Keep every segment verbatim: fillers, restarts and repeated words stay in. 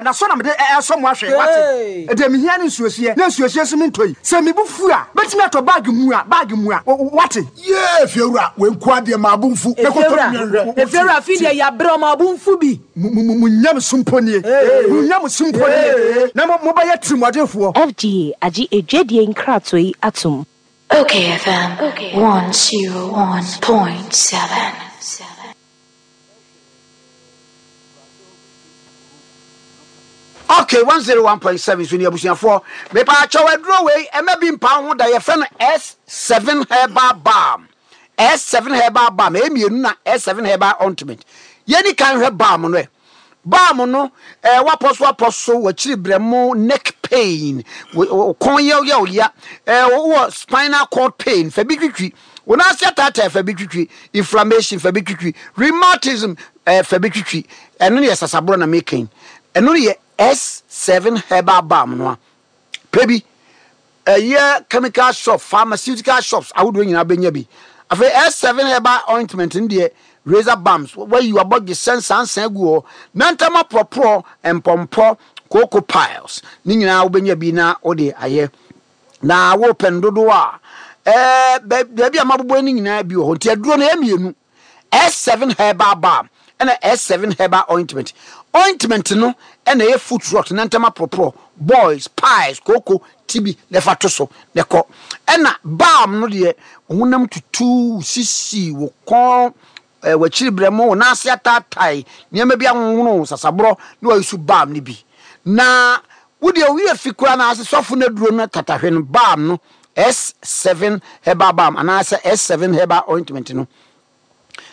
Na sɔ na mede ɛsɔ mo ahwɛ, wate? Ɛdeɛ mehia ne nsuohyeɛ, na nsuohyeɛ nso mentɔ yi. Sɛ me bo fu a, mɛtumi atɔ bag mua, bag mua, wate? Yee, Fiewura, wei nko ara deɛ, maa bo mfu. Mɛkɔtɔ bi nhwɛ. Efiewura, afei deɛ yɛabrɛ, ɔma bo mfu bi. Mo nyamesom mpo nie, mo nyamesom mpo nie, na mobɛyɛ tirimɔdenfoɔ. F D A agye edwadie nkratoɔ yi atom. Okay F M one zero one point seven. Okay, one zero one point seven so ni. Abusuafoɔ, mepaakyɛw, aduro wei ɛmɛ bi mpa ho da. Yɛfrɛ no S seven herbal balm, S seven herbal balm. Ɛyɛ mmienu na S seven herbal ointment. Yɛni kan hwɛ balm no. Ɛ balm no, ɛɛ wapɔ so, apɔ so wɔakyiri brɛmo, neck pain, kɔn yɛwyɛw ya, ɛɛ wɔ spinal cord pain, fa bi twitwi wɔn ase, ataataa, fa bi twitwi inflammation, fa bi twitwi rheumatism, ɛɛ fa bi twitwi. Ɛno no yɛ sasaborɔ na mekan. Ɛno no yɛ S seven herbal balm no a pɛ bi. Ɛyɛ chemical shop, pharmaceutical shops ahodoɔ nyinaa bɛnya bi. Afei S seven herbal ointment no deɛ, razor bumps, wayi wabɔdwe sɛ nsansan gu hɔ na ntam aporɔporɔ, mpɔmpɔ, cocoa piles ne nyinaa, wobɛnya bi na wode ayɛ. Na wopɛ no dodoɔ a, ɛɛ baabi a mabobɔ no nyinaa bi wɔ hɔ. Nti aduro no ɛyɛ mmienu, S seven herbal balm ɛna S seven herbal ointment. Ointment no ɛna ɛyɛ foot rot na ntam aporɔporɔ, boils, piles, kooko tibi na ɛfa to so na ɛkɔ. Ɛna balm no deɛ, honam tutu, sisi, wo kɔn, ɛɛ w'akyiri brɛmo, wo nan ase ataatae, nneɛma bi ahohono, sasaborɔ, na wayi so balm no bi. Na wodeɛ owi fi koraa na ase sɔfo no aduro no tatahwe no, balm no, S seven herbal balm anaasɛ S seven herbal ointment no.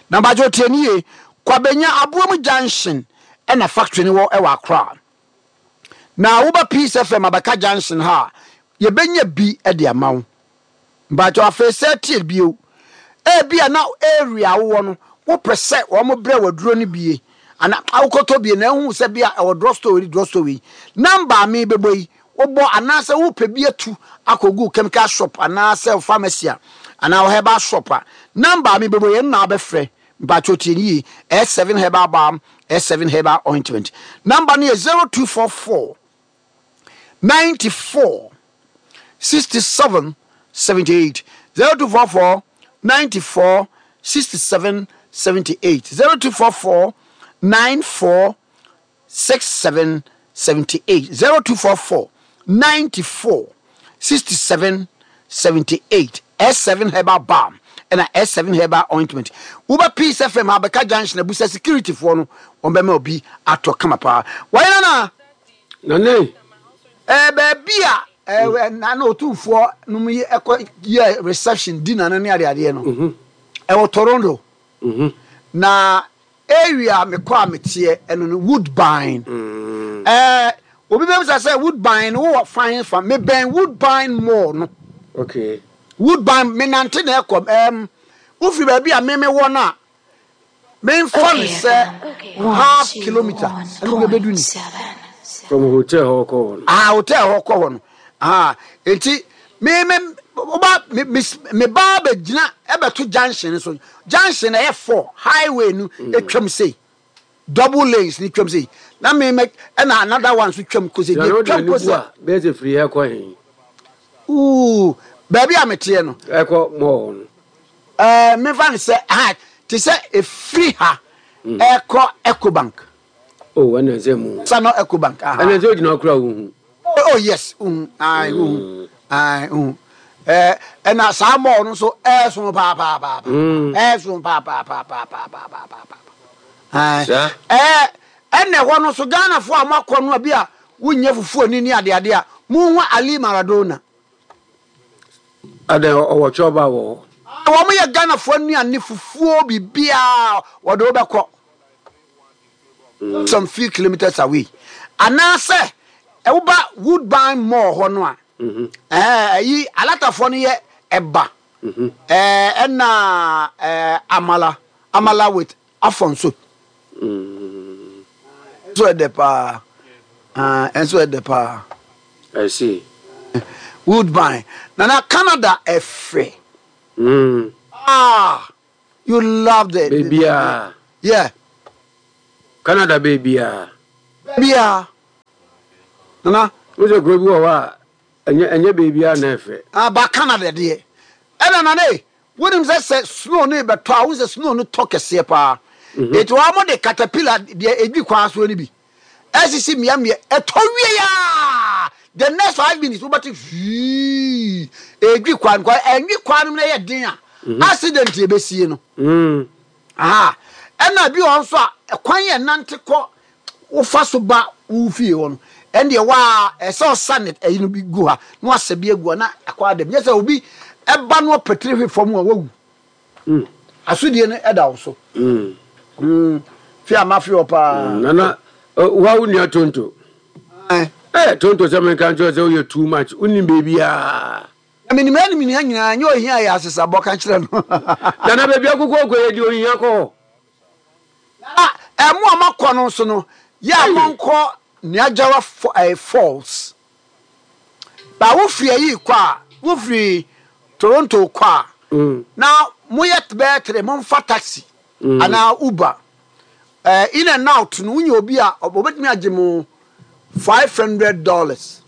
Na mbagye otie ni yie, Kwabenya Aboam Junction ɛna factory no wɔ, ɛwɔ Accra. Na woba Peace F M Abɛka Junction ha a, yɛbɛnya bi de ama wo. Mbagye afei sɛ tie bio, ebi a na area wowɔ no, wopɛ sɛ wɔn brɛ waduro no bie ana awokɔtɔ bie na ehu sɛ bia ɛwɔ drugstore yi, drugstore yi number a mi bɛbɔ yi wobɔ, anaasɛ wopɛ bi atu akɔgu chemical shop anaasɛ pharmacy a anaa herbal shop a, number a mi bɛbɔ yi ɛno na wabɛfrɛ. Mpatwo, tie yie. S seven herbal balm, S seven herbal ointment number no yɛ zero two four four ninety-four sixty-seven seventy-eight, zero two four four ninety-four sixty-seven seventy-eight, zero two four four ninety-four sixty-seven seventy-eight, zero two four four ninety-four sixty-seven seventy-eight. S seven herbal balm ɛna S seven herbal ointment. Woba Peace F M Abɛka Junction, abusa security foɔ no, wɔn bɛma obi atɔ kama paa. Wɔyɛ nana. Nane. Ɛɛ baabi a ɛɛ nana Otumfoɔ nom yi ɛkɔ yɛ reception dinner no ne adeadeɛ no, ɛwɔ Toronto. Na area mekɔ a meteɛ ɛno no Woodbine. Ɛɛ obi bɛ bisa sɛ Woodbine no wowɔ fan fa? Mebɛn Woodbine Mall no. Okay woodbine, menante na ɛkɔ. ɛɛm wofiri baabi a meme wɔ no a, memfa no sɛ half kilometre ɛno bɛbɛdu ni. From hotel hɔ kɔ hɔ no? Ah, hotel hɔ kɔ hɔ no. Ah, nti me me woba me me me ba bɛgyina ɛbɛto junction so. Junction ɛyɛ four highway no etwam sei, double lanes ni twam sei, na me me ɛna another one nso twam kose. Na deɛ twam twam kose kose bɛyɛ sɛ firi ha kɔ he? Ooh, baabi a meteɛ no. Ɛkɔ mall no. Ɛɛ mefa no sɛ ha te sɛ efiri ha ɛkɔ Ecobank. Oh, ɛna sɛ mu. Sano Ecobank, aha. Ɛna sɛ ogyina kora wohu. Oh yes, uhu, ayi, uhu, ayi, uhu. Ɛɛ ɛna saa mall no nso ɛɛso paapaapaa, ɛɛso paapaapaapaapaa. Saa. Ɛɛ ɛna ɛhɔ no nso, Ghanafoɔ a moakɔ no a, bi a wonyɛ fufuo ni ne adeade a, monhu Ali Maradona. Adan ɔwɔ kyɔba wɔ hɔ. Wɔn yɛ Ghanafoɔ nnuane, fufuo, biribiara wɔde wobɛkɔ some few kilometers away, anaasɛ ɛwoba Woodbine Mall hɔ no a, ɛɛ ɛyi alatafoɔ no yɛ ɛba, ɛɛ ɛna ɛɛ amala amala with afɔnso nso ɛdɛ paa. Ɛɛ ɛnso ɛdɛ paa. I see. Woodbine, nana, Canada ɛfɛ. Mm. Ah, you loved it. Baabiaa. Yeah. Canada baabiaa. Baabiaa. Nana. Wo sɛ kuro bi wɔ hɔ a ɛnyɛ ɛnyɛ beebi a na ɛfɛ. Ah, ba Canada deɛ. Ɛna nana e, wonim sɛ sɛ snow no bɛtɔ a, wohu sɛ snow no tɔ kɛseɛ paa. Eti wɔn de caterpillar deɛ edwi kwan soɔ no bi ɛsisi mmeammea, ɛtɔ wie aa, the next five minutes wobɛte hwii edwi kwan kwan ɛnwi kwan no mu na ɛyɛ den a, accident ebesie no. Mm. Aha, ɛna bi wɔ hɔ nso a ɛkwan yɛ nante kɔ wofa so ba wo fie hɔ no, ɛndeɛ waa ɛsɛ ɔsa ne ɛyi no bi gu ha na wasɛ bi agu ha na akɔ adam nyɛ sɛ obi ɛba no ɔpɛtiri hwe fam a wawu. Mm. Asodie no ɛda wo so. Mm. Mm. Fi a mafe hɔ paa. Nana, wa wo nua Tonto. Ɛn. Eh, Tonto sɛ menka nkyerɛ sɛ woyɛ too much. Wonim baabiaa. Na menim anim nua nyinaa nyɛ ohia yɛ asesabɔ ka kyerɛ no. Nana, baabi akokɔ kɔ yɛ deɛ ohia kɔ hɔ. Na ɛmo a makɔ no nso no, yɛ a monkɔ Niagara eh, Falls. Ba wofiri ayi kɔ a, wofiri Toronto kɔ a, Mm. na moyɛ bɛyɛ tere, momfa taxi Mm. anaa Uber. Eh, in and out no, wonya obi a obetumi agye mo five hundred dollars.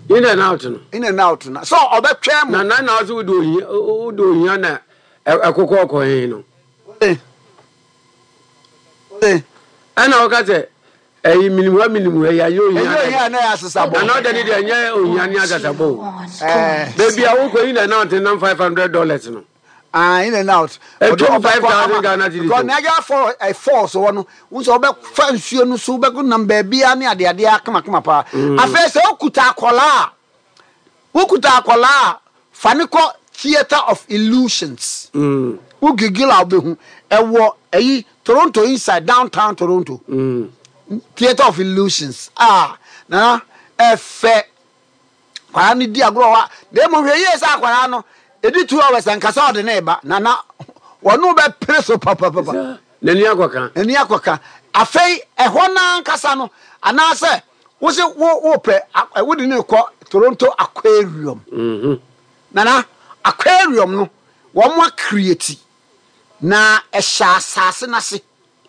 In and out no. In and out no. So ɔbɛtwɛn mo. Na na na ɔsɛ wode ohia wode ohia na ɛkokɔ kɔ he no. Eh. Eh. Ɛna ɔka sɛ ɛyi minimu ha minimu ha yi anyɛ ohia. Ɛnyɛ ohia na ɛyɛ asesabɔ. Nana ɔda ne deɛ ɛnyɛ ohia ne asesabɔ o. Eh. Baabi a wokɔ in and out nam five hundred dollars no. Ah, in and out. Ɛtwam five thousand Ghana cedis. Because Niagara Falls, eh, Falls hɔ no, wo sɛ wobɛfa nsuo no so, wobɛkɔ nam baabi a ne adeadeɛ akamakama paa. Afei sɛ wokuta akɔlaa a, wokuta akɔlaa a, fa ne kɔ Theatre of Illusions. Mm. Wo giggle a wobɛhu. Ɛwɔ ɛyi Toronto inside, downtown Toronto. Mm. Theatre of Illusions. Ah, na ɛfɛ. Akwaraa no di agorɔ hɔ a, na mmom hwɛ yie sɛ akwaraa no, ɛdi two hours ankasa ɔde ne ba, na na wɔne bɛpere so papapapa. N'ani akɔka. N'ani akɔka. Afei ɛhɔ no ankasa no, anaasɛ wo se wo wopɛ wode ne kɔ Toronto Aquarium. Mm-hmm. Nana, aquarium no, wɔn acreate na ɛhyɛ asase n'ase.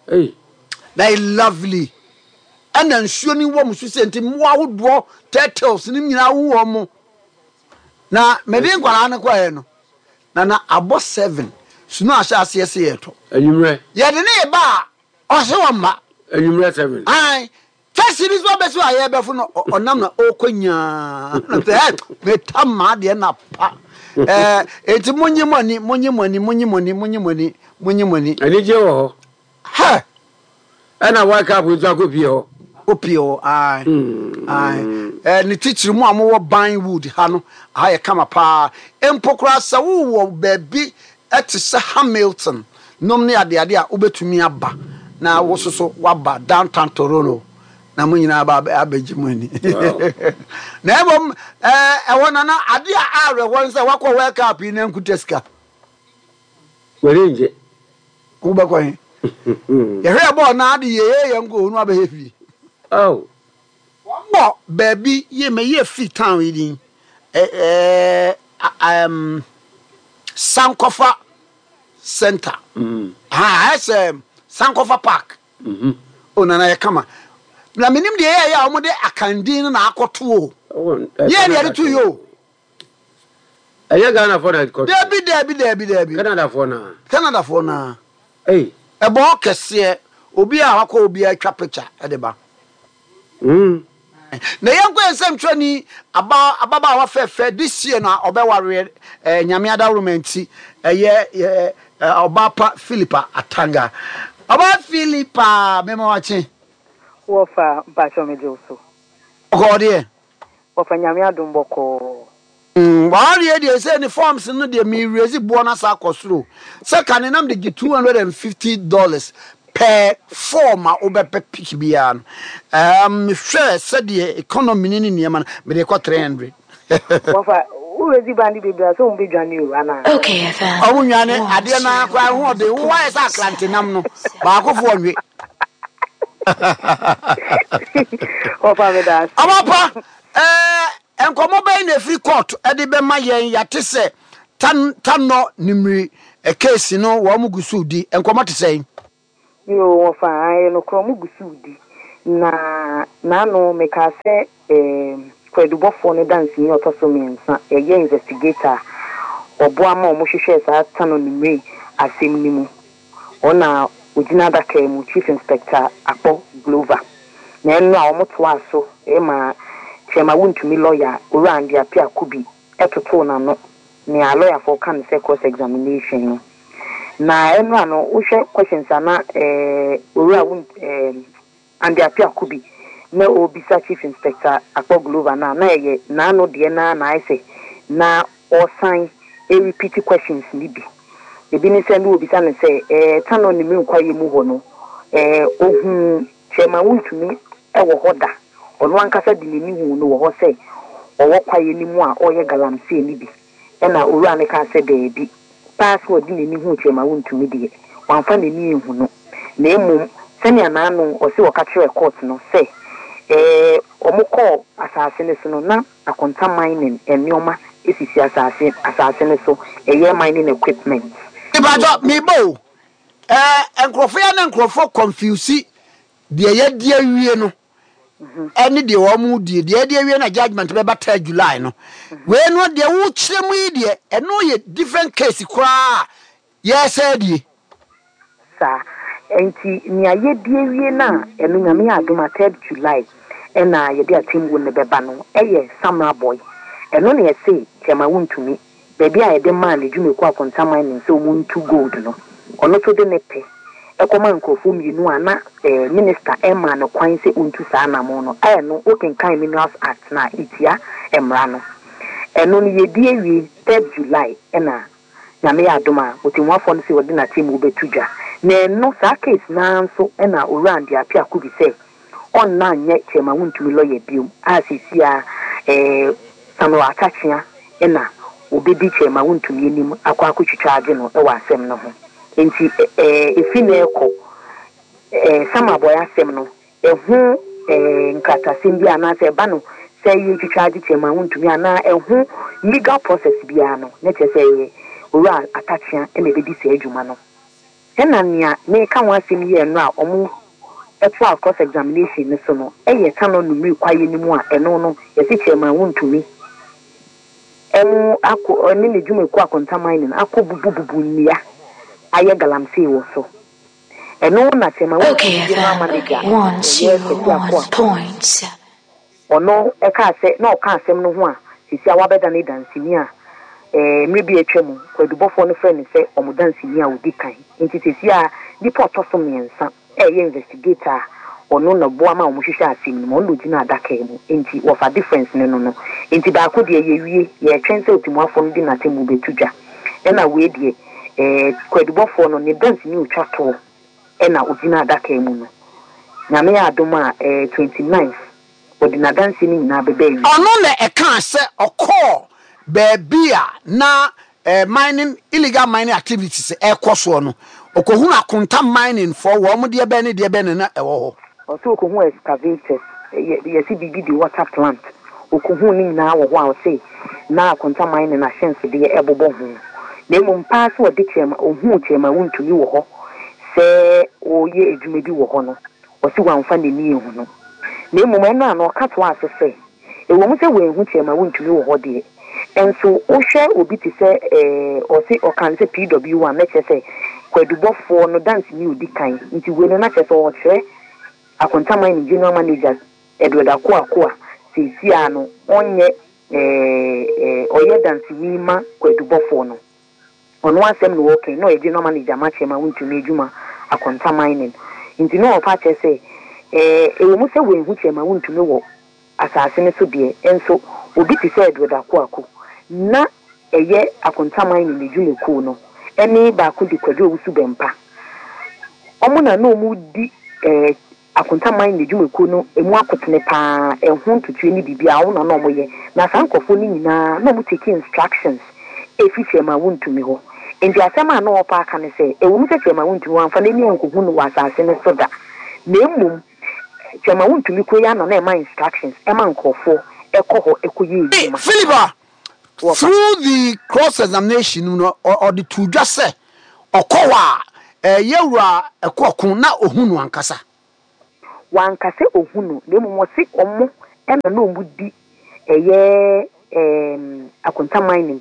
Hey. Na ɛyɛ lovely. Ɛna nsuo no wɔ mu so sɛ nti mmoa ahodoɔ turtles no nyinaa wo wɔ mo. Na mede nkwaraa no kɔɛ no, na na abɔ seven sunu ahyɛ aseɛ sɛ yɛtɔ. Anwummerɛ. Yɛde ne ba a ɔse wɔ mma. Anwummerɛ seven. Ae. Taxi bi so abɛsi a yɛbɛfo no ɔnam na ɔrekɔ nyaa. Na sɛ ɛ meta maa deɛ na pa. Ɛɛ eti monye mo ani monye mo ani monye mo ani monye mo ani monye mo ani. Anigye wɔ hɔ. Hɛ. Ɛna World Cup nso akɔpie hɔ. Opie hɔ ae ae ɛɛ ne titiri mu a mowɔ Vinewood ha no ha yɛ kama paa mpo koraa sɛ wowɔ baabi ɛte sɛ Hamilton nom ne adeade a wobɛtumi aba na wo soso waba downtown Toronto na mo nyinaa ba abɛgye mo ani. Na mmom ɛɛ ɛwɔ nana ade a awerɛhoɔ ne sɛ wakɔ World Cup yi na nkuta sika. W'ani ngye. Wobɛkɔ he? Yɛhwɛ bɔɔl na ade yɛyɛ yɛn nkɔ onu abɛyɛ fie. Oh. Wɔn wɔ baabi yie mɛ yie fi town yi din ɛɛ ɛɛm Sankɔfa Center. Mm. Ha ayɛ sɛ Sankɔfa Park. Mm-hmm. O nana yɛ kama. Na menim deɛ yɛyɛ a wɔde akandin no na akɔto o. Oh, Yɛ ne yɛde to yi o. Ɛyɛ Ghana fo na ɛkɔto. Dabi dabi dabi dabi. Canada fo na. Canada fo na. Hey. Ɛbɔ kɛseɛ obi a wakɔ obi atwa picture ɛde ba. Mm. Na yɛnkɔ yɛn nsɛmtwerɛni aba ababaawa fɛfɛ this year na ɔbɛwareɛ ɛɛ Nyame adaworoma nti ɛyɛ ɛɛ ɔbaa pa Philippa Atanga. Ɔbaa Philippa mema wakye. Wɔfa mpakyɛ megye wo so. Ɔkɔɔ deɛ. Wɔfa Nyame adom bɔkɔɔ. Mm, wawareɛ deɛ sɛ ne forms no deɛ merezi boɔ no asa akɔ soro sɛ ka ne nam de gye two hundred and fifty dollars per form a wobɛpɛ pick biara no. Um, mehwɛ sɛdeɛ economy ne ne nneɛma no mede kɔ three hundred. Wɔfa worezi bandi bebree a sɛ wɔn bɛdwane o anaa? Okay F M. Ɔmo nwane adeɛ no ara koraa ho ɔden wo wayɛ sɛ akrante nam no baakofoɔ nwe. Wɔfa me da ase. Ɔmo pa ɛɛ nkɔmɔ bɛyi na efiri court ɛde bɛma yɛn yate sɛ tan tanɔ nimiri case no wɔn gu so di nkɔmɔ te sɛn. Yo, wɔfa ayɛ no korɔ ɔmo gu so di. Na n'ano mekaa sɛ eh, kwadubɔfoɔ no danseni a ɔtɔ so mmiɛnsa, ɛyɛ investigator a ɔboa ma ɔmo hwehwɛɛ saa Tano Nimiri asɛm no mu. Ɔna ogyina adaka mu, Chief Inspector Akpɔ Glover. Na ɛno a ɔmo toa so ɛma Chairman Wontumi lawyer, Owura Andy Appiah Kubi, ɛtotoo n'ano nea lawyerfoɔ ka no sɛ cross examination no. Na ɛno a no wohwɛ questions a na eh, Owura Won eh, Andy Appiah Kubi na ɔrebisa Chief Inspector Akpɔ Glover no a, na ɛyɛ n'ano deɛ na na ayɛ sɛ na ɔsan repeat questions ni bi. Ebi ne sɛ ne obisa no sɛ ɛɛ Tano Nimiri kwaeɛ mu hɔ no, ɛɛ ohun Chairman Wontumi ɛwɔ hɔ da? Ɔno ankasa de n'ani hu no wɔ hɔ sɛ ɔwɔ kwaeɛ no mu a ɔreyɛ galamsey no bi? Ɛna owura no kaa sɛ daabi paa, sɛ ɔde n'ani hu Chairman Wontumi deɛ, wamfa n'ani ehu no, na mmom sɛnea n'ano ɔsi ɔka kyerɛ court no sɛ ɛɛ ɔmo kɔɔ asase no so no, na Akonta Mining nneɛma esisi asase asase no so, ɛyɛ mining equipment. Ìbàdàn mi bò ɛɛ nkurɔfoɔ yɛ ne nkurɔfoɔ confuse deɛ yɛdi awie no ɛne deɛ wɔn mu die. Deɛ yɛdi awie na judgement bɛba third July no. Wei no deɛ wokyerɛ mu yi deɛ, ɛno yɛ different case koraa yɛsɛ die. Saa nti nea yɛdi awie no a, ɛno Nyame yɛ adom a, third July ɛna yɛde atemmuo no bɛba no, ɛyɛ Samreboi. Ɛno na yɛse Chairman Wontumi, baabi a yɛde maa ne dwumakuo Akonta Mining sɛ ɔmu ntu gold no, ɔno nso de ne pɛ ɛkɔma nkurɔfoɔ mmienu a na ɛɛ minister ɛmaa no kwan sɛ ɔntu saa anamo no. Ɛyɛ no wokenkan Minerals Act na ɛtia mmara no. Ɛno no yɛdi awie third July, ɛna Nyame yɛ adom a, ɔtɛmmuafoɔ no sɛ wɔde n'atemmuo bɛto dwa. Na ɛno saa case naa nso ɛna Owura Andy Appiah Kubi sɛ ɔnna nyɛ Chairman Wontumi lawyer biom a, seesi a ɛɛ Samuel Atta Akyea ɛna obɛdi Chairman Wontumi anim akɔ akɔtwitwa agye no ɛwɔ asɛm no ho. Nti ɛɛ efi na ɛkɔ ɛɛ Samreboi asɛm no ɛho ɛɛ nkratasɛm bi anaasɛ ɛba no sɛ yɛtwitwa agye Chairman Wontumi anaa ɛho legal process biara no, ne kyerɛ sɛ ɛyɛ Owura Atta Akyea ɛna ɛbɛdi saa adwuma no. Ɛna nea meka ho asɛm yi, ɛno a ɔmo ɛtoa cross examination no so no, ɛyɛ Tano Nimiri kwaeɛ no mu a ɛno no yɛsi Chairman Wontumi ɛmo akɔ ɛne ne dwumakuo Akonta Mining akɔ bubububu nnua ayɛ galamsey wɔ so. Ɛno na Chairman Okay Wontumi general F M manager one ɛyɛ zero Kwasi Ako one a point seven. Ɔno ɛka sɛ na ɔka asɛm no ho a, sisi a wabɛda ne danseni a ɛɛ mmerɛ bi atwa mu kwadubɔfoɔ no frɛ no sɛ ɔmo danseni a odi kan. Nti sisi a nipa ɔtɔ so mmiɛnsa ɛyɛ investigator a ɔno na boa ma ɔmo hwehwɛ asɛm no mu, ɔno na ogyina adaka mu. Nti wɔfa difference ne no no nti baako deɛ yɛwie, yɛtwɛn sɛ otimuafoɔ no de n'atemmu bɛtu dwa, ɛna wei deɛ ɛɛ kwadubɔfoɔ no ne danseni otwa toɔ ɛna ogyina adaka mu no. Nyame yɛ adom a, ɛɛ twenty ninth wɔde n'adansi no nyinaa bɛbɛ awie. Ɔno na ɛkaa sɛ ɔkɔɔ baabi a na eh, mining, illegal mining activities ɛkɔ soɔ no, ɔkɔhunu Akonta Mining foɔ wɔn mo deɛ bɛn ne deɛ bɛn ne na ɛwɔ hɔ. Ɔsɛ okohu excavators, yɛ yɛsi biribi de water plant, okohu ne nyinaa wɔ hɔ a ɔsɛ na Akonta Mining ahyɛnsodeɛ ɛbobɔ ho. Na mmom paa sɛ ɔde Chairman, ohuu Chairman Wontumi wɔ hɔ sɛ ɔreyɛ adwuma bi wɔ hɔ no, ɔsi wamfa n'ani ehu no. Na mmom ɛno a na ɔka toa so sɛ ɛwɔ mu sɛ wɔnhu Chairman Wontumi wɔ hɔ deɛ, nso wohwɛ obi te sɛ ɛɛ ɔsi ɔka no sɛ P W one, na kyerɛ sɛ kwadubɔfoɔ no danseni odi kan. Nti wei no na kyerɛ sɛ ɔkyerɛ Akonta Mining general manager Edward Akoako a seesi a no ɔnyɛ ɛɛ ɛɛ ɔyɛ danseni ma kwadubɔfoɔ no. Ɔno asɛm na wɔka na ɔyɛ general manager ma Chairman Wontumi adwuma Akonta Mining. Nti na ɔfa kyerɛ sɛ ɛɛ ɛwɔ mu sɛ wɔnhu Chairman Wontumi wɔ asase no so deɛ, nso obi te sɛ Edward Akoako na ɛyɛ Akonta Mining n'adwumakuo no ɛne baako de Kwadwo Owusu Bɛmpa, ɔmo na na ɔmo di ɛɛ Akonta Mining n'adwumakuo no emu akotene paa, ɛho ntutuo ne biribi a ɔmo na na ɔmo yɛ. Na saa nkurɔfoɔ no nyinaa na ɔmo take instructions efi Chairman Wontumi hɔ. Nti asɛm a na ɔpa aka ne sɛ ɛwɔ mu sɛ Chairman Wontumi wamfa n'ani ankohu no wɔ asase no so da, na mmom Chairman Wontumi kuro yi ana na ɛma instructions ɛma nkurɔfoɔ ɛkɔ hɔ ɛkɔyɛ adwuma. Philippa, Wɔfa. through the cross examination no, ɔ- ɔde to dwa sɛ ɔkɔ hɔ a ɛyɛ wura ɛkɔɔko na ohun no ankasa. Wanka sɛ ohu no, na mmom ɔse ɔmo ɛna na ɔmo di ɛyɛ ɛɛm Akonta Mining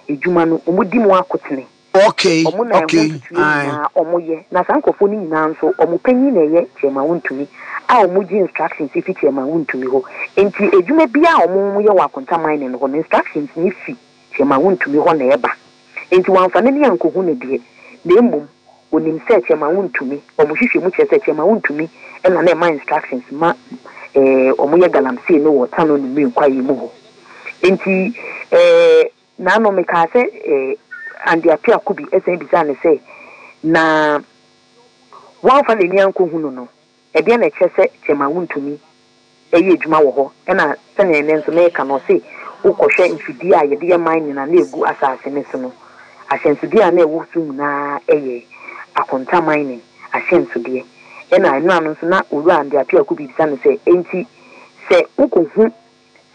edwuma no, ɔmo di mu akotene. Okay. Ɔmo na ɛho okay ntutuo nyinaa ɔmo yɛ, na saa nkurɔfoɔ no nyinaa nso, ɔmo panyin na ɛyɛ Chairman Wontumi a ɔmo gye instructions fi Chairman Wontumi hɔ. Nti edwuma biara a ɔmo yɛ wɔ Akonta Mining hɔ no, instructions ne fi Chairman Wontumi hɔ na ɛba. Nti wɔamfa n'ani ankɔhu no deɛ, na mmom onim sɛ Chairman Wontumi, ɔmo hwehwɛ mu kyerɛ sɛ Chairman Wontumi ɛna na ɛma instructions ma ɛɛ ɔmo yɛ galamsey no wɔ Tano Nimiri kwaeɛ mu hɔ. Nti ɛɛ naano mekaa sɛ ɛɛ Andy Appiah Kubi ɛsɛn bisa ne sɛ na wɔamfa n'ani ankɔhu no no ɛdeɛ na ɛkyerɛ sɛ Chairman Wontumi ɛyɛ adwuma wɔ hɔ? Ɛna sɛnea ɛnɛ nso mɛka no, ɔse wokɔhwɛ mfidie a yɛde yɛ mining a na egu asase ne so no, ahyɛnsodeɛ a na ɛwɔ so nyinaa ɛyɛ Akonta Mining ahyɛnsodeɛ. Ɛna ɛno ano nso na Owura Andy Appiah Kubi bisa no sɛ, enti sɛ wokɔhu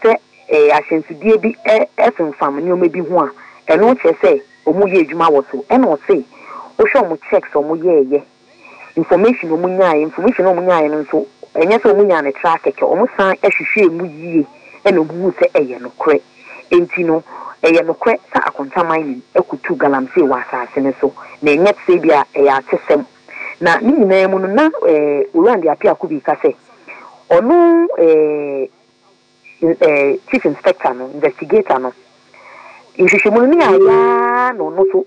sɛ ɛɛ ahyɛnsodeɛ bi ɛ ɛfemfam nneɛma bi ho a, ɛno kyerɛ sɛ ɔmo yɛ adwuma wɔ so? Ɛna ɔse wohwɛ ɔmo checks a ɔmo yɛɛyɛ, information a ɔmo nyaeɛ, information a ɔmo nyaeɛ no nso, ɛnyɛ sɛ ɔmo nyaa ne tra kɛkɛ, ɔmo san ɛhwehwɛ mu yie ɛna ɔmo hu sɛ ɛyɛ nokorɛ. Enti no ɛyɛ nokorɛ sɛ Akonta Mining ɛkutu galamsey wɔ asase no so, na ɛnyɛ sɛ bi a ɛyɛ atesɛm. Na ne nyinaa mu no, na ɛɛ Owura Andy Appiah Kubi ka sɛ ɔno ɛɛ ɛɛ chief inspector no, investigator no, nhwehwɛmu no ne ayaa na ɔno so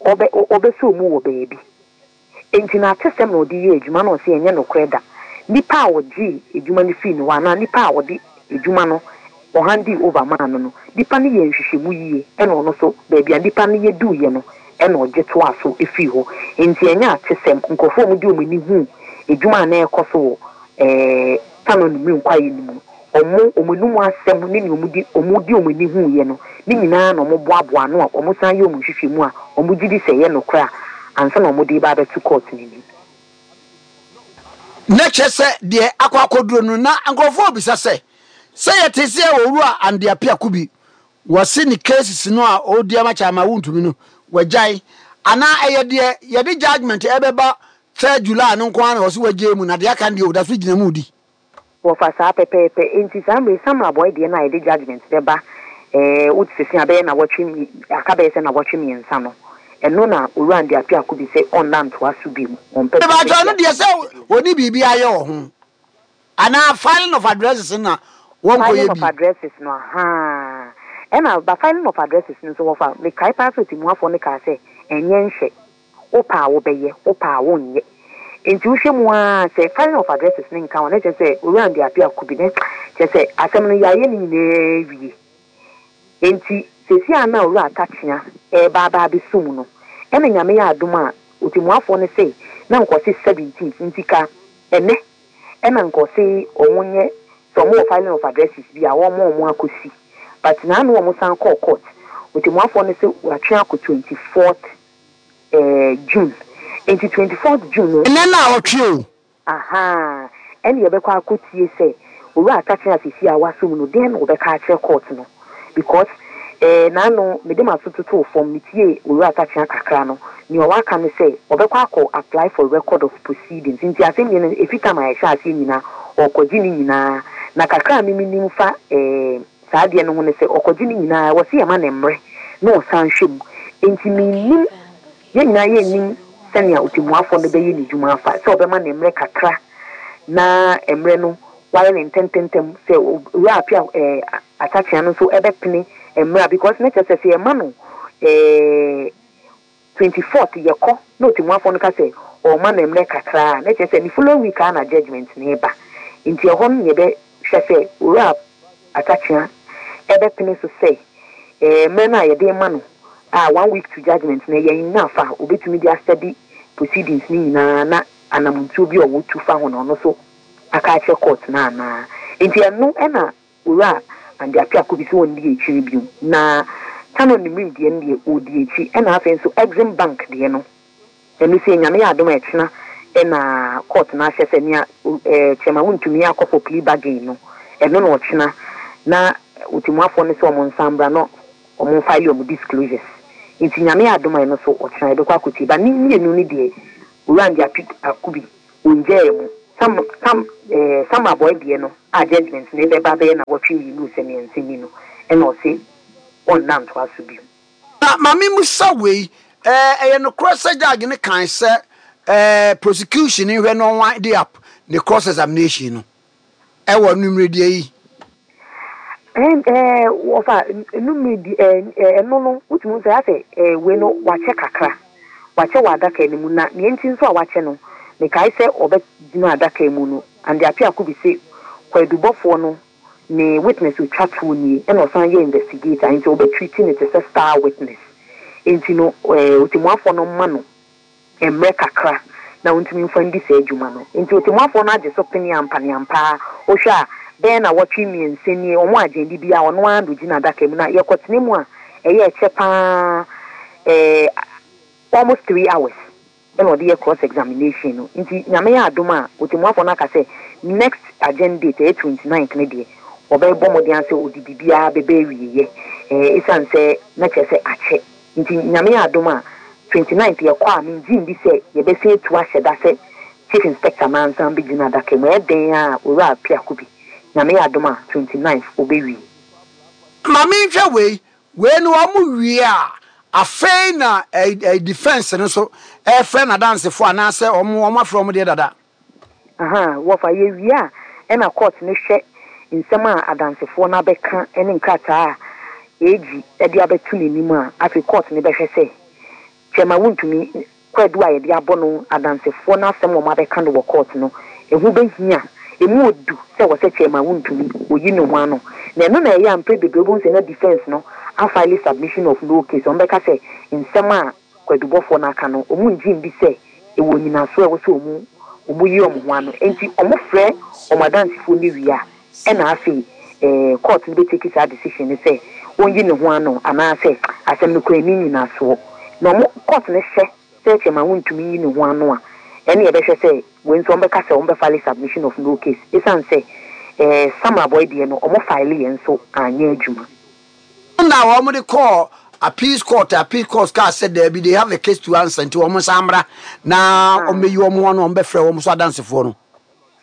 ɔbɛ ɔbɛsɔ mu wɔ baabi. Nti na atesɛm na ɔde yɛ adwuma na ɔsɛ ɛnyɛ nokorɛ da. Nipa a ɔgye adwuma no fii ne hɔ anaa nipa a ɔde adwuma no ɔhand over maa no no nipa no yɛ nhwehwɛmu yie, ɛna ɔno so baabi a nipa no yɛ duiɛ no ɛna ɔgye toa so efiri hɔ. Nti ɛnyɛ atesɛm. Nkurɔfoɔ a wɔde wɔn ani hu adwuma a na ɛkɔ so wɔ ɛɛ Tano Nimiri kwaeɛ no mu no, ɔmo ɔmo anum asɛm ne nea ɔmo di ɔmo di ɔmo ani hu yɛ no ne nyinaa na ɔmo boaboa ano a ɔmo san yɛ ɔmo nhwehwɛmu a ɔmo gye di sɛ ɛyɛ nokorɛ a ansa na ɔmo de ba abɛto court n'anim. Na kyerɛ sɛ deɛ akɔ akɔduro no, na nkurɔfoɔ bisa sɛ sɛ yɛte sɛ Owura Andy Appiah Kubi wɔse ne cases no a ɔredi ama Chairman Wontumi no wagyae, anaa ɛyɛ deɛ yɛde judgement ɛbɛba third July no nko ara na wɔse wagyae mu, na deɛ aka no deɛ ɔda so gyina mu di? Wɔfa saa pɛpɛɛpɛ. Nti saa mmere Samreboi deɛ no a yɛde judgement bɛba ɛɛ wote sisi abɛyɛ na wɔtwe aka bɛyɛ sɛ na wɔtwe mmiɛnsa no, ɛno na Owura Andy Appiah Kubi sɛ ɔnna ntoa so bi mu, ɔmpɛ sɛ Mebatɔ no deɛ sɛ wɔni biribi ayɛ wɔ ho anaa filing of addresses na wɔnkɔyɛ filing of bi. Addresses no, ahaa, ɛna ba filing of addresses no nso, wɔfa mekae paa sɛ otimuafoɔ no kaa sɛ ɛnyɛ nhyɛ, wopɛ a wobɛyɛ, wopɛ a wonyɛ. Nti wohwɛ mu a, sɛ filing of addresses ne nka ho na kyerɛ sɛ Owura Andy Appiah Kubi ne kyerɛ sɛ asɛm no yɛayɛ ne nyinaa wie. Nti sɛsi a na Owura Atakyea ɛreba aba abɛsum no, ɛna Nyame yɛ adom a otimuafoɔ no sɛ na nkɔse seventeenth, nti ka ɛnɛ ɛna nkɔse ɔmo nyɛ sɛ ɔmo wɔ filing of addresses bi a wɔn ɔmo akɔsi, but naanu ɔmo san kɔɔ court, otimuafoɔ no sɛ watwe akɔ twenty fourth ɛɛ June. Nti twenty fourth June no ɛnɛ na ɔtwe o. Aha, ɛna yɛbɛkɔ akɔtie sɛ Owura Atakyea asisi a wasom no, deɛn na wɔbɛka akyerɛ court no, because ɛɛ naano mede ma so toto fam, metie Owura Atakyea kakra no, nea ɔwaka no sɛ ɔbɛkɔ akɔ apply for record of proceedings. Nti asɛm no efi tam a yɛhyɛ aseɛ nyinaa ɔkɔgye ne nyinaa. Na kakra a mimi nim fa ɛɛ saa adeɛ no ho ne sɛ ɔkɔgye ne nyinaa, wɔsi yɛ ma ne mmerɛ na ɔsan hwɛ mu. Nti menim, yɛn nyinaa yɛnnim sɛnea otimuafoɔ no bɛyɛ ne dwuma afa, sɛ ɔbɛma ne mmerɛ kakra na mmerɛ no wayɛ ne ntɛntɛntɛm, sɛ Owura Appiah ɛɛ Atakyea no nso ɛbɛpene mmerɛ, because ne kyerɛ sɛ sɛ yɛma no ɛɛ twenty fourth yɛkɔ na otimuafoɔ no ka sɛ ɔma no mmerɛ kakra a, ne kyerɛ sɛ ne following week a na judgement ne ba. Nti ɛhɔ no yɛbɛhwɛ sɛ Owura Atakyea ɛbɛpene so sɛ ɛɛ mmerɛ no a yɛde ma no a one week to judgement na yɛn enough a obetumi de astudy proceedings ne nyinaa na anamontuo bi a ɔwɔ tu fa ho na ɔno so aka akyerɛ court na anaa. Nti ɛno ɛna Owura Andy Appiah Kubi sɛ wɔn akyiri bio. Na Tano Nimiri deɛ no deɛ, ɔdi akyi. Ɛna afei nso Exim Bank deɛ no, ɛno sɛ Nyame yɛ adom a ɛkyena ɛna court no ahyɛ sɛ nea ɛɛ Chairman Wontumi akɔ for plea bargain no, ɛno na ɔkyena na otimuafoɔ no sɛ ɔmo nsa mbra na ɔmo file ɔmo disclosures. Nti Nyame yɛ adom a ɛno so ɔkyena yɛbɛkɔ akɔtie. Ba ne mmienu no deɛ, Owura Andy Appiah Kubi ongyaa mu. Sam Sam eh, Samreboi deɛ no a judgement no ɛbɛba bɛyɛ nnawɔtwe mmienu sɛ mmiɛnsa ni no, ɛna ɔse ɔnna ntoa so bio. Na ma memmisa wei, ɛɛ, ɛyɛ nokorɛ sɛ judge no kae sɛ ɛɛ, prosecution nhwɛ na ɔnwind up ne cross examination no ɛwɔ nummeredeɛ yi? Ɛn ɛɛ wɔfa nummeredi ɛɛ ɛno no, wotumi hu sɛ asɛ ɛɛ wei no wakyɛ kakra, wakyɛ wɔ adaka no mu. Na nea nti nso a wakyɛ no, mekae sɛ ɔbɛgyina adaka mu no, Andy Appiah-Kubi se kwaadubɔfoɔ no ne witness otwa toɔ nie, ɛna ɔsan yɛ investigator, nti ɔbɛtreat no te sɛ star witness. Nti no ɛɛ otemmuafoɔ no ma no mmerɛ kakra na ɔntumi mfa ndi saa adwuma no. Nti otemmuafoɔ no agye so pene ampa ne ampa ara. Wohwɛ a, bɛyɛ nnawɔtwe mmiɛnsa nie, wɔn agyendi biara ɔno ara na ogyina adaka mu. Na yɛkɔtena mu a, ɛyɛ ɛkyɛ paa, ɛɛ almost three hours ɛna ɔde yɛ cross examination no. Nti Nyame yɛ adom a, otemmuafoɔ no aka sɛ next adjourn date ɛyɛ twenty ninth no deɛ, ɔbɛbɔ mmɔden sɛ ɔde biribiara bɛbɛ awieɛ, ɛɛ ɛsiane sɛ na kyerɛ sɛ akyɛ. Nti Nyame yɛ adom a, twenty ninth yɛkɔ a, mengye ndi sɛ yɛbɛsan atu ahyɛ da sɛ Chief Inspector nansan bɛgyina adaka mu. Ɛyɛ den a Owura Appiah-Kubi, Nyame yɛ adom a, twenty ninth ɔbɛwie. Ma menhwɛ wei, wei no wɔn wie a, afei na ɛ ɛ defence no so ɛfrɛ n'adansefoɔ anaasɛ wɔn wɔn afrɛ wɔn deɛ dada? Aha, wɔfa yɛwie a, ɛna court no hwɛ nsɛm a adansefoɔ no abɛka ne nkrataa a A G de abɛto n'anim a, afei court no bɛhwɛ sɛ Chairman Wontumi kwadu a yɛde abɔ no, adansefoɔ no asɛm a wɔn abɛka no wɔ court no, ɛho bɛhia, emu odu sɛ wɔ sɛ Chairman Wontumi oyi ne ho ano. Na ɛno na ɛyɛ a mpere bebree wobɛhu sɛ na defence no afile submission of no case. Wɔn bɛka sɛ nsɛm a kwadubɔfoɔ no aka no, wɔn ngye ndi sɛ ɛwɔ nyinasoɔ a ɛwɔ sɛ wɔn wɔn yi wɔn ho ano. Nti wɔn frɛ wɔn adansefoɔ no wie a, ɛna afei ɛɛ court no bɛtake saa decision no sɛ wɔnyi ne ho ano anaasɛ asɛm no kura ani nyinasoɔ. Na wɔn court no hyɛ sɛ Chairman Wontumi yi ne ho ano a, ɛne yɛbɛhwɛ sɛ wei nso wɔn bɛka sɛ wɔn bɛfile submission of no case, ɛsiane sɛ ɛɛ Samreboi deɛ no, wɔn file yɛn nso anyɛ adwuma. Na wɔn de kɔɔ appeals court, appeals court kaa sɛ daabi, they have a case to answer, nti wɔn nsa mmra na wɔn bɛyi wɔn ho ano, wɔn bɛfrɛ wɔn so adansefoɔ no.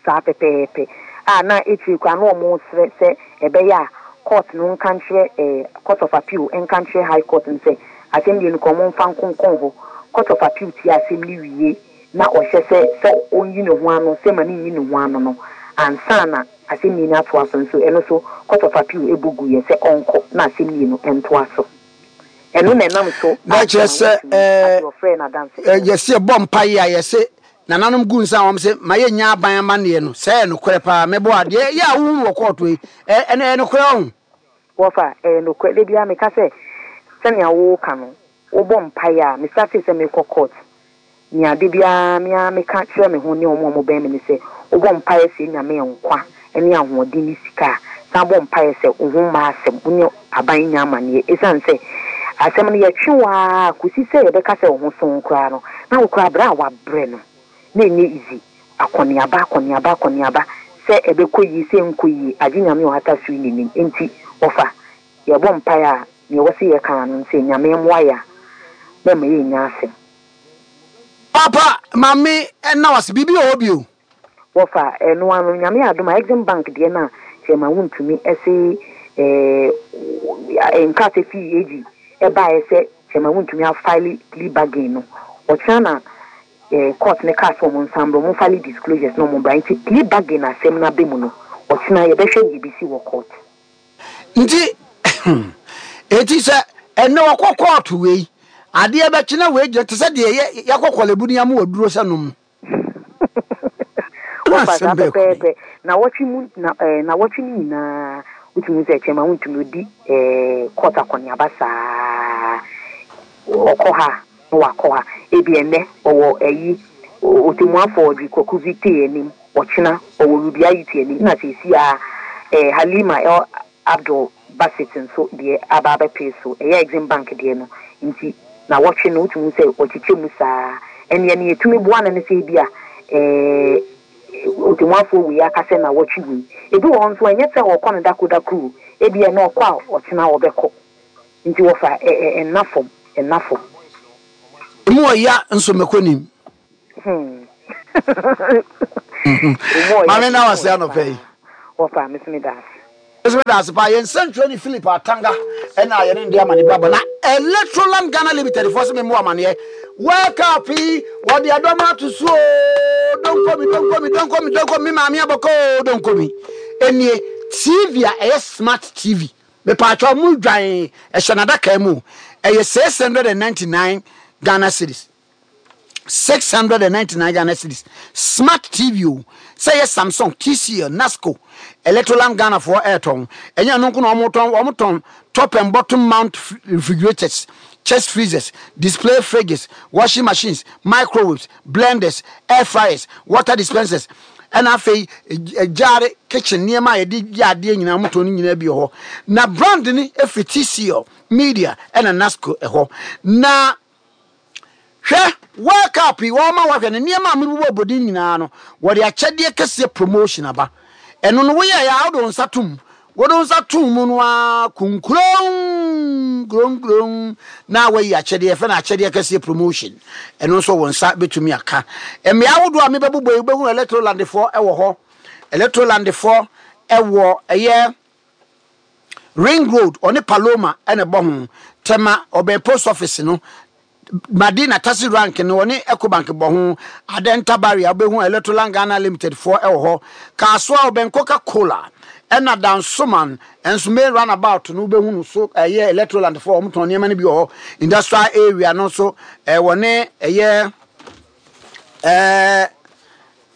Saa pɛpɛɛpɛ a na ekyir koraa na wɔn srɛ sɛ ɛbɛyɛ a court no nka nkyerɛ ɛɛ Court of Appeal nka nkyerɛ High Court no sɛ asɛm deɛ no kɔ wɔn mfa nkonkɔn hɔ. Court of Appeal tie asɛm no wie na ɔhyɛ sɛ sɛ ɔnyi ne ho ano sɛ ma ne nyi ne ho ano no ansa na asɛm no atoa so nso, ɛno so Court of Appeal ebu gu yɛ sɛ ɔnkɔ na asɛm no ntoa so. Ɛno na ɛnam so. Na kyerɛ sɛ ɛɛ ɔfrɛ n'adansefoɔ. Yɛsi ɛbɔ mpa yi a, yɛsɛ nananom gu nsa a wɔn sɛ ma yɛ nya aban amanneɛ no sɛ ɛyɛ nokorɛ paa. Mɛbɔ adeɛ yɛ a wohu wɔ kɔɔto yi, ɛ ɛno ɛyɛ nokorɛ ɔho? Wɔfa ɛyɛ nokorɛ. De bia meka sɛ sɛnea woka no, wobɔ mpaeɛ a, mesate sɛ mekɔ court, nea de biara mea meka kyerɛ me ho ne ɔmo a ɔmo bɛn me ne sɛ wobɔ mpaeɛ sɛ Nyame nkwa ne ahoɔden ne sika a, san bɔ mpaeɛ sɛ wo ho mma asɛm, wo ne aban nya amanneɛ, ɛsiane sɛ asɛm no yɛtwe waa kɔsi sɛ yɛbɛka sɛ wo ho so koraa no na wo koraa berɛ a wabrɛ no na ɛnyɛ easy, akɔneaba akɔneaba akɔneaba sɛ ɛbɛkɔ yie sɛ nkɔ yie, agye Nyame ɔhata so yi n'anim. Nti wɔfa yɛbɔ mpaeɛ a, nea ɛwɔ sɛ yɛka no sɛ Nyame mmoa yɛ a na ɛma yɛnya asɛm. Papa maame, ɛna wase biribi wɔ hɔ bio? Wɔfa ɛno ano, Nyame adom a, Exim Bank deɛ no a Chairman Wontumi ɛse ɛɛ nkrataa fii A G ɛbaeɛ sɛ Chairman Wontumi afile plea bargain no, ɔkyena na ɛɛ court ne kaa sɛ ɔmo nsan brɛ ɔmo file disclosures na ɔmo bra. Nti plea bargain asɛm no abɛ mu no, ɔkyena yɛbɛhwɛ deɛ ebesi wɔ court. Nti eti sɛ ɛnɛ wɔkɔ court wei, adeɛ bɛkyena wei gyina te sɛ deɛ yɛ yɛkɔ Korle Bu ne ama waduro sɛ nom. Wɔfa saa pɛpɛɛpɛ. Na wɔtwe mu na ɛɛ na wɔtwe no nyinaa, wotumi sɛ Chairman Wontumi odi ɛɛ court akɔneaba saa, ɔkɔ ha na wakɔ ha. Ebi ɛnɛ ɔwɔ ɛyi otemuafo Audrey Kocuvie Teye anim, ɔkyena ɔwɔ Ruby Aryeetey anim, na sɛsi a ɛɛ Halima El Abdul Basit nso deɛ aba abɛpee so, ɛyɛ Exim Bank deɛ no. Nti na wɔtwe no, wotumi sɛ ɔkyekyɛ mu saa. Ɛneɛ ne yɛtumi boa no ne sɛ ebi a ɛɛ otemuafoɔ wei aka sɛ na wɔtwe wei, ebi wɔ hɔ nso ɛnyɛ sɛ ɔkɔ no dako dako o, ebi ɛna ɔkɔ a ɔkyena ɔbɛkɔ. Nti wɔfa ɛ ɛ ɛnna fam, ɛnna fam. Emu ɔya nso mɛkɔ nim. Hmm. Maame na wase anɔpɛ yi. Wɔfa me so meda ase. Ɛsɛ meda ase paa. Yɛn nsɛntwerɛni Philip Atanga ɛna yɛne no de amane ba bɔ na Electroland Ghana Limited foɔ sɛ memmɔ amaneɛ. World Cup yi wɔde ɛdɔm ato so oo, donkomi donkomi donkomi donkomi me maame abɔkɔ oo donkomi. Ɛnie T V a ɛyɛ smart T V. Mepaakyɛw mo dwan ɛhyɛ n'adaka mu o. Ɛyɛ six hundred and ninety-nine Ghana cedis. six hundred and ninety-nine Ghana cedis. Smart T V o. Sɛ yɛ Samsung, T C L, Nasco, Electroland Ghana foɔ ɛɛtɔn. Ɛnyɛ ɛno nko na wɔn tɔn, wɔn tɔn top and bottom mount refrigerators, chest freezers, display fridges, washing machines, microwaves, blenders, air fryers, water dispensers. Ɛna afei gyaare kitchen nneɛma a yɛde yɛ adeɛ nyinaa wɔn tɔn no nyinaa bi wɔ hɔ. Na brand ni efiri T C L, Media ɛna Nasco ɛhɔ. Na hwɛ, World Cup yi wɔn ma wahwɛ no, nneɛma a mebobɔ obodin nyinaa no, wɔde akyɛdeɛ kɛseɛ promotion aba. Ɛno no woyɛ yɛ a wode wo nsa tom, wode wo nsa tom mu no a kunkuron kuronkuron na wayi akyɛdeɛ fɛ no akyɛdeɛ kɛseɛ promotion. Ɛno nso wo nsa bɛtumi aka. Mmea ahodoɔ a mebɛbobɔ yi, wobɛhu Electrolandfoɔ ɛwɔ hɔ. Electrolandfoɔ ɛwɔ ɛyɛ Ring Road, ɔne Paloma ɛna ɛbɔ ho. Tema, ɔbɛn post office no. Madina, taxi rank no, ɔne Ecobank bɔ ho. Adenta Barrier, wobɛhu Electroland Ghana Limited foɔ ɛwɔ hɔ. Kaasoa, ɔbɛn Coca Cola. Ɛna Dansoman nso, main roundabout no, wobɛhu no so ɛyɛ Electroland foɔ, wɔn tɔn nneɛma no bi wɔ hɔ. Industrial Area no nso, ɛwɔ ne ɛyɛ ɛɛ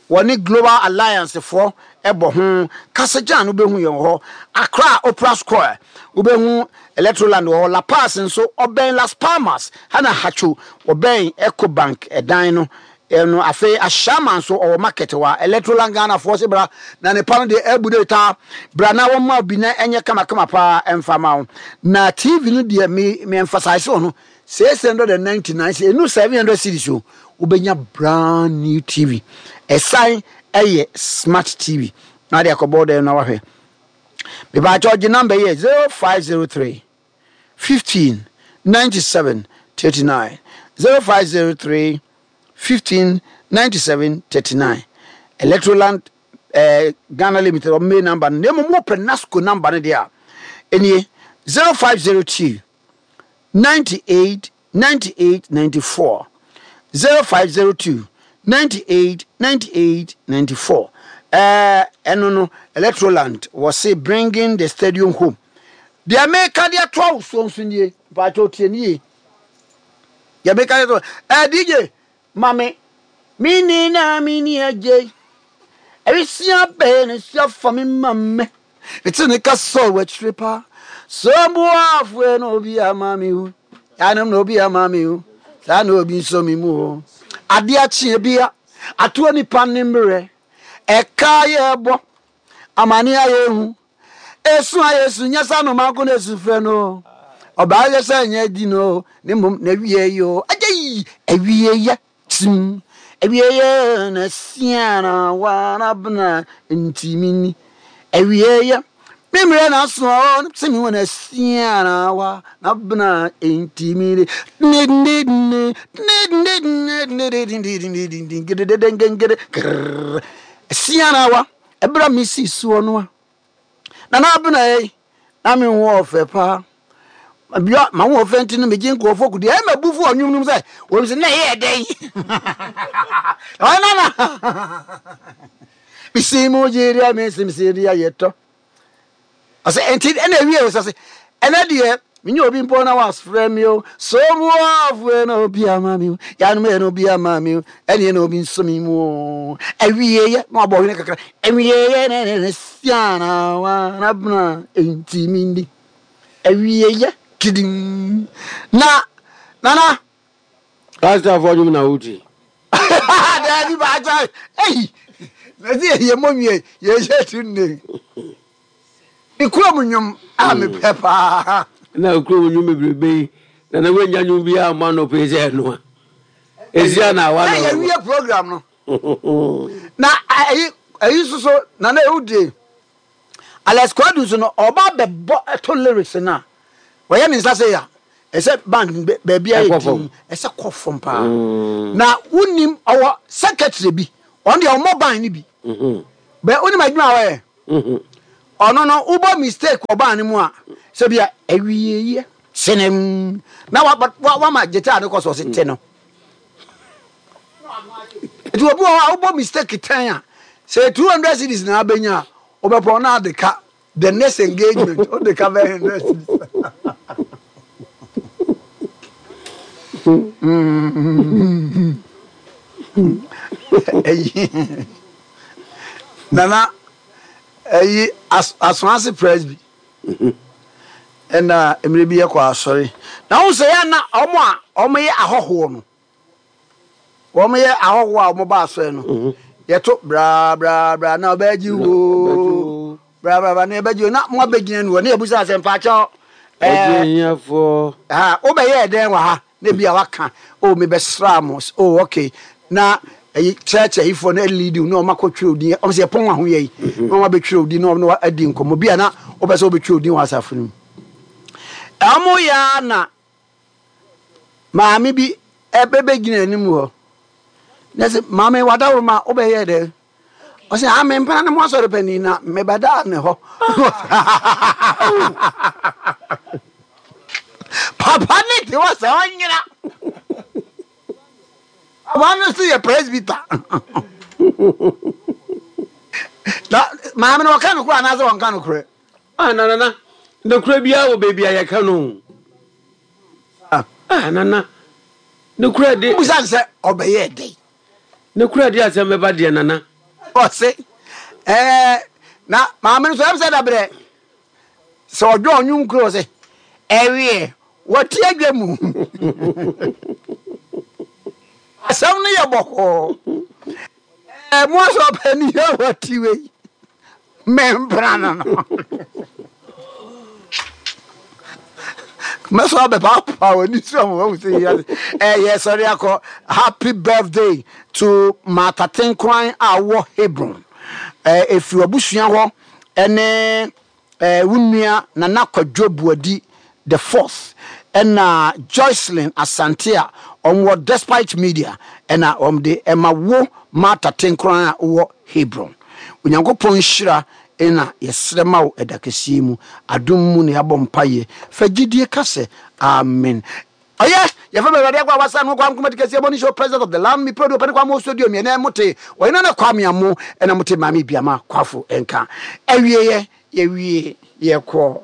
wɔne Global Alliance foɔ ɛbɔ ho. Kasagyan no, wobɛhu yɛn wɔ hɔ. Accra, Opera Square, wobɛhu Electroland wɔ hɔ. Lapaz nso, ɔbɛn Las Palmas hana Hatcho, ɔbɛn Ecobank ɛdan no ɛno. Afei Ahyama nso, ɔwɔ market wɔ a Electroland Ghana foɔ sɛ bra na ne pa no deɛ ɛbu de taa bra na wɔn ma bi na ɛnyɛ kamakama paa ɛmfa ma wo. Na T V no deɛ, me me emphasize wɔ no six hundred and ninety nine, sɛ enu seven hundred cedis o, wobɛnya brand new T V. Ɛsan ɛyɛ smart T V na de akɔbɔ dɛm na wahwɛ. Mepaakyɛ ɔgye number yɛ zero five zero three fifteen ninety-seven thirty-nine, zero five zero three fifteen ninety-seven thirty-nine. Electroland eh, Ghana Limited ɔmo main number no. Na mmom wopɛ Nasco number no deɛ a, ɛnie zero five zero two ninety-eight ninety-eight ninety-four, zero five zero two ninety-eight ninety-eight ninety-four. ɛɛ ɛno no Electroland wɔ se bringing the stadium home. Deɛ meka deɛ toa wo soɔ nso nie, mpakyɛ tie nie. Deɛ meka deɛ toa ɛɛ D J mame mini na mini agye ɛwisia bɛɛ ne sua fa me ma me mete ne ka sɔ wɔ akyire paa so mboafoɛ na obi ama me o yanom na obi ama me o saa na obi nso mi mu o. Adeɛ akyeɛ bia atoɔ nipa ne mmerɛ ɛka yɛ bɔ amane ayɛ hu esu ayɛ su nyɛ sɛ anoma nko na esu frɛ no ɔbaa yɛ sɛ nyɛ di no ne mmom na awie yi o agye yi awie yɛ tim awie yɛ na sia na wana bena ntimi ni awie yɛ mímírɛ na so ɔ sɛ mi wɔ na sia na wa na bena ntimi ni ne ne ne ne ne ne ne ne sia na wa ɛbɛrɛ mi si soɔ no a na na abena yi na mi ho ɔfɛ paa bia ma ho ɔfɛ nti no megye nkurɔfoɔ kudi ɛyɛ ma bufu ɔnwom nom sɛ wɔn sɛ na ɛyɛ dɛn ɔyɛ nana mesi mu gye deɛ mesi mesi deɛ yɛtɔ ɔsɛ nti ɛna ewie sɛ sɛ ɛnɛ deɛ menye obi mpo na wasfrɛ mi o so muafoɛ na obi ama mi o yanom yɛ na obi ama mi o ɛneɛ na obi nso mi mu o awieyɛ na wabɔ hwene kakra awieyɛ na ɛne siana wa na bena enti mi ndi awieyɛ kidim na nana. Pastorfoɔ dwom na woti. Daabi, baagya ei na sɛ yɛyɛ mmɔ nwie yɛyɛ tu nne ne kurom nnwom a mepɛ paa. Na kurom nnwom bebrebe yi na na woanya nnwom biara mmɔ anɔpɛ yi sɛ ɛnoa ɛsia na awa na na yɛwie program no na ayi ayi soso nana ewudie Alex Kwadu so no ɔba bɛbɔ ɛto lyrics no a wɔyɛ ne nsa sɛ ya Ɛsɛ band baabi a yɛ din ɛsɛ kɔ fam paa. Na wonim ɔwɔ secretary bi, ɔno deɛ ɔmmɔ band no bi. Bɛ wonim adwuma a ɔyɛ? Ɔno no wobɔ mistake wɔ band no mu a, sɛ bia awieyɛ senem na wama guitar no kɔ so ɔse te no. Nti obi wɔ hɔ a wobɔ mistake tɛn a, sɛ two hundred cedis na abɛnya a, wobɛpɔn na ade ka the next engagement wode ka bɛyɛ hundred cedis. Ɛyi nana ɛyi asoase presby ɛna mmerɛ bi yɛkɔ asɔre na wo sɛ yɛ na ɔmo a ɔmo yɛ ahɔhoɔ no wɔn yɛ ahɔhoɔ a wɔn ba asɔre no yɛto bra bra bra na ɔbɛgye wo bra bra bra na ɛbɛgye wo na mo abɛgyina no wɔ ne yɛbusa sɛ mpakyɛw ɛɛ ha wobɛyɛ ɛdɛn wɔ ha na ebi a waka o mebɛsra mo o okay na ɛyi church ayifoɔ no ɛlidi na wɔn akɔtwerɛ odin wɔn sɛ yɛpɔn ahoyɛ yi na wɔn abɛtwerɛ odin na wɔn adi nkɔmmɔ bi a na wɔbɛ sɛ wɔbɛtwerɛ odin wɔ asafo no mu ɛwɔn yɛ na maame bi ɛbɛbɛgyina anim hɔ na sɛ maame wadaworo ma wobɛyɛ dɛ ɔsɛ ah mempena ne mo asɔre panin na mebɛdaa ne hɔ. Papa ne te hɔ sɛ ɔnyera. Papa no so yɛ presbyter. Na maame no ɔka nokorɛ anaasɛ ɔnka nokorɛ? Ah, na nana, nokorɛ biara wɔ baabi a yɛka no. Ah, nana, nokorɛ de. Wobusa no sɛ ɔbɛyɛɛ dɛn? Nokorɛ de asɛm bɛba deɛ, nana. Ɔse, ɛɛ, na maame no so ɛm sɛ dabrɛ sɛ ɔdwɔ ɔnwom kuro ɔse, ɛweɛ, wɔte adwa mu. Asɛm no yɛ bɔkɔɔ. Ɛɛ, mo asɔ ɔpani yɛ wɔte wei. Mempena no no. Mɛsɔ abɛpaapa w'ani so ama wahu sɛ yia ɛyɛ sɔre akɔ. Happy birthday to Martha Tenkran a wɔ Hebron. Ɛfiri w'abusua hɔ ɛne wo nua Nana Kwadwo Buadi the fourth ɛna Joycelyn Asante a wɔn wɔ Despite Media ɛna wɔn de ɛma wo Martha Tenkran a wɔ Hebron. Onyankopɔn nhyira na yɛsrɛ ma wo ɛda kɛseɛ mu. Adom mu na yɛabɔ mpaeɛ. Fa gyidie ka sɛ, Amen. Ɔyɛ, yɛfrɛ me Awurade Akoa Wasa no Kwame Nkrumah Dikɛseɛ Morning Show President of the Land Me Produo Pɛne Kwame Owusu Aduomi Ɛnɛ mote Ɔyɛ Nana Kwame Amo ɛna mote Maame Biama Kwafo nka. Awieɛ, yɛwie, yɛkɔ.